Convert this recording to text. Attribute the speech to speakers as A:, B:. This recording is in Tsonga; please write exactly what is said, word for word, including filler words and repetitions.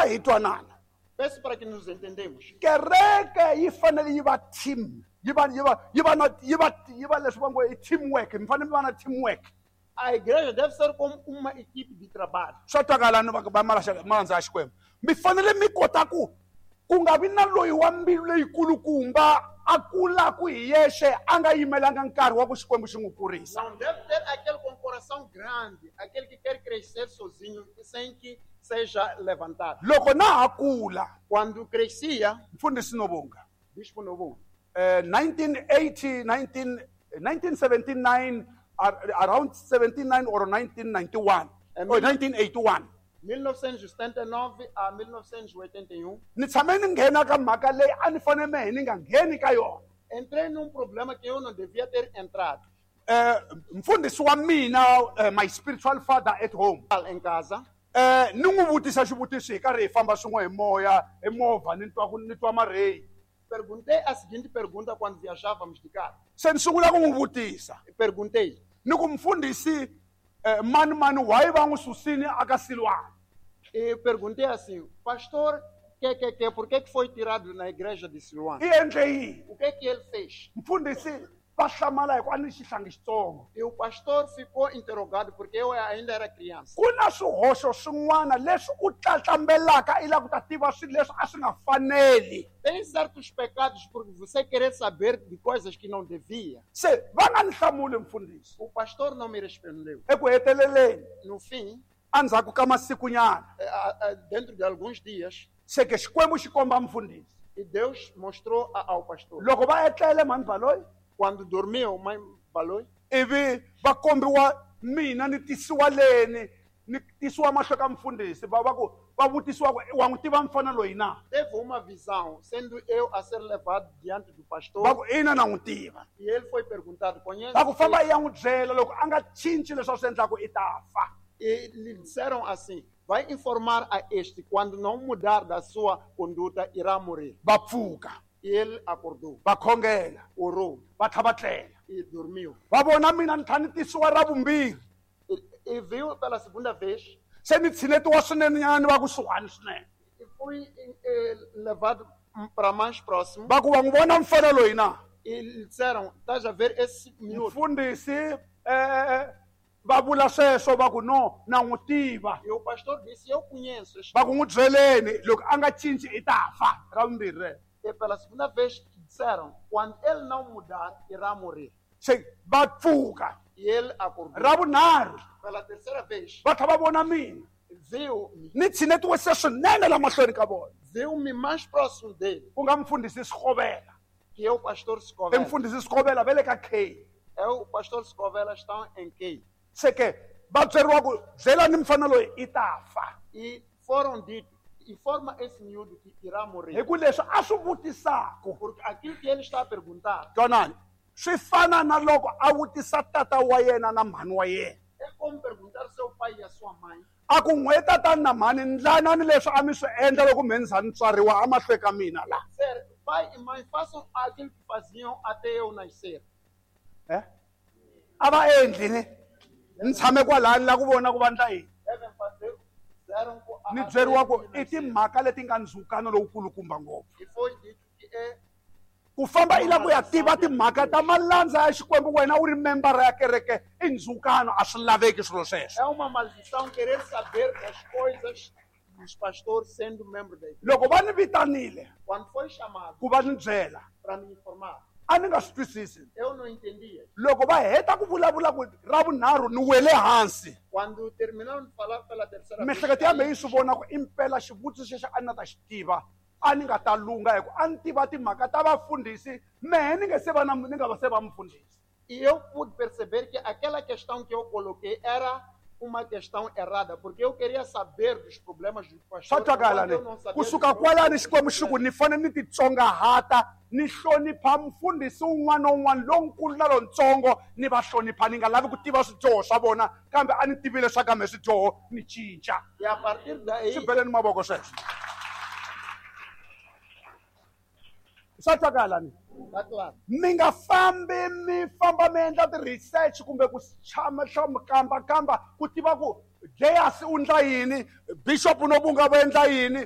A: kombela hi twanana.
B: Peço para que nos entendemos.
A: Kereke yi fanele yi va team, yi va yi va yi va na yi va yi va leswi va ngo i teamwork, mi fanele mi va na teamwork.
B: A igreja deve ser como uma equipe de trabalho.
A: Swa twakala ni va va malandza ya Xikwembu. Mi fanele mi kota ku ku nga vi na loyi wa mbilu leyikulukumba a kulaku hi yexe a nga yimelanga nkarhi wa ku Xikwembu xi n'wi kurisa.
B: Não deve ter aquele com coração grande, aquele que quer crescer sozinho, sem que seja levantado.
A: Loko na ha kula,
B: Quando crescia,
A: mfundhisi Novonga,
B: Bispo Novo,
A: eh, nineteen eighty, nineteen, nineteen seventy-nine, ar- around seventy-nine or nineteen ninety-one,
B: Eh,
A: or nineteen eighty-one.
B: mil novecentos e setenta e nove a mil novecentos e oitenta e um.
A: Ni tshame ni nghena ka mhaka leyi a ni fanele mehe ni nga ngheni ka yona.
B: Entrei num problema que eu não devia ter entrado.
A: Eh, mfundhisi wa mina, eh, my spiritual father at home.
B: Em casa.
A: Eh, ni n'wi vutisa xivutiso hi karhi hi famba swin'we hi moya, hi movha, ni twa ku ni twa mareyi.
B: Perguntei a seguinte pergunta quando viajávamos de carro.
A: Se ni sungula ku n'wi vutisa.
B: Perguntei.
A: Ni ku mfundhisi, eh, mani mani why va n'wi susini aka Silwana?
B: E perguntei assim, pastor, que, que, que, por que que foi tirado na igreja de Siloam?
A: I endle yini?
B: O que que ele fez?
A: Mfundhisi va hlamala hi ku a ni xihlangi xitsongo.
B: E o pastor ficou interrogado porque eu ainda era criança.
A: Ku na swihoxo swin'wana leswi u tlatlambelaka i lava ku ta tiva swilo leswi a swi nga faneli.
B: Tem certos pecados porque você querer saber de coisas que não devia.
A: Se va nga ni hlamuli mfundhisi.
B: O pastor não me respondeu.
A: Eku heteleleni,
B: No fim,
A: endzhaku ka masikunyana,
B: eh, a, a, dentro de alguns dias,
A: se ke Xikwembu xi komba mfundhisi.
B: E Deus mostrou a, ao pastor.
A: Loko va etlele mhani Baloyi,
B: Quando dormiu, mãe Baloyi,
A: ivi va kombiwa mina ni tisiwa leni, ni tisiwa mahlo ka mfundhisi, va va ku va vutisiwa ku wa n'wi tiva mfana loyi na?
B: Teve uma visão, sendo eu a ser levado diante do pastor.
A: Va ku ina na n'wi tiva.
B: E ele foi perguntado, conhece?
A: Va ku famba i ya n'wi byela loko a nga cinci leswi a swi endlaku i ta fa.
B: E lhe disseram assim, vai informar a este, quando não mudar da sua conduta, irá morrer.
A: Va pfuka.
B: E ele acordou.
A: Va khongela.
B: Orou.
A: Va tlhela va tlela.
B: E dormiu.
A: Va vona mina ni tlhela ni tisiwa ra vumbirhi.
B: E, e viu pela segunda vez.
A: Se ni tshinetiwa swinene nyana ni va kusuhani swinene.
B: E fui, eh, levado para mais próximo.
A: Va ku wa n'wi vona mfana loyi na?
B: E lhe disseram, estás a ver esse miúdo?
A: Mfundhisi, eh, va vula sweswo va ku no, na n'wi tiva.
B: E o pastor disse, eu conheço este
A: Va ku n'wi byeleni, loko a nga cinci i ta fa. Ra vumbirhi rero.
B: E pela segunda vez disseram, quando ele não mudar, irá morrer.
A: Se va pfuka.
B: E ele acordou.
A: Ra vunharhu.
B: Pela terceira vez.
A: Va tlhela va vona mina.
B: Viu-me.
A: Ni tshinetiwe se swinene la mahlweni ka vona.
B: Viu-me mais próximo dele.
A: Ku nga mfundhisi Sikovela.
B: Que é o pastor Sikovela.
A: E mfundhisi Sikovela va le ka K.
B: É o pastor Sikovela está em K.
A: Se ke va byeriwa ku byelani mfana loyi i ta fa.
B: E foram dito, informa esse miúdo que irá morrer.
A: Hi ku leswi a swi vutisaku.
B: Porque aquilo que ele está a perguntar.
A: Twanani, swi fana na loko a vutisa tata wa yena na mhani wa yena.
B: É como perguntar seu pai e a sua mãe.
A: A ku n'we tatani na mhani ndlanani leswi a mi swi endla loko me ni za ni tswariwa amahlweni ka mina la.
B: Ser, pai e mãe façam aquilo que faziam até eu nascer.
A: Eh? A va endli ni? Ni tshame kwalani la ku vona ku va ndla yini.
B: Devem fazer, fizeram com a
A: Ni byeriwa ku
B: até eu
A: i
B: nascer.
A: timhaka leti nga ndzhukano lowukulukumba ngopfu.
B: E foi dito que é
A: Ku famba i lava ku ya tiva timhaka ta malandza ya Xikwembu wena u ri membara ya kereke i ndzhukano a swi laveki swilo sweswo.
B: É uma maldição querer saber das coisas dos pastores sendo membro da igreja.
A: Loko va ni vitanile
B: Quando foi chamado
A: ku va ni byela,
B: para me informar,
A: a ni nga swi twisisi.
B: eu não entendia.
A: Loko va heta ku vulavula ku ra vunharhu ni wele hansi.
B: Quando terminaram de falar pela terceira vez,
A: Miehleketo ya mehe yi swi vona ku impela xivutiso xexo a ni nga ta xi tiva. A ni nga ta lunga hi ku a ni tiva timhaka ta vafundhisi mehe ni nge se va na ni nga va se va mufundhisi.
B: E eu pude perceber que aquela questão que eu coloquei era uma questão errada, porque eu queria saber dos problemas do pastor.
A: Swa twakala
B: enquanto
A: ne?
B: eu não sabia
A: Kusuka
B: dos
A: kwalani Xikwembu xi ku ni fanele ni titsongahata, ni hlonipha mufundhisi un'wana na un'wana lonkulu na lontsongo, ni va hlonipha, ni nga lavi ku tiva swidyoho swa vona, kambe a ni tivile swa kambe swidyoho ni cinca.
B: E a partir daí,
A: Swi beleni mavoko sweswo. Swa twakala ne?
B: Tá claro.
A: Mi nga fambi mi famba mi endla ti-research kumbe ku tshama hlama kamba kamba ku tiva ku Jeyasi u endla yini, Bishop Nobunga va endla yini,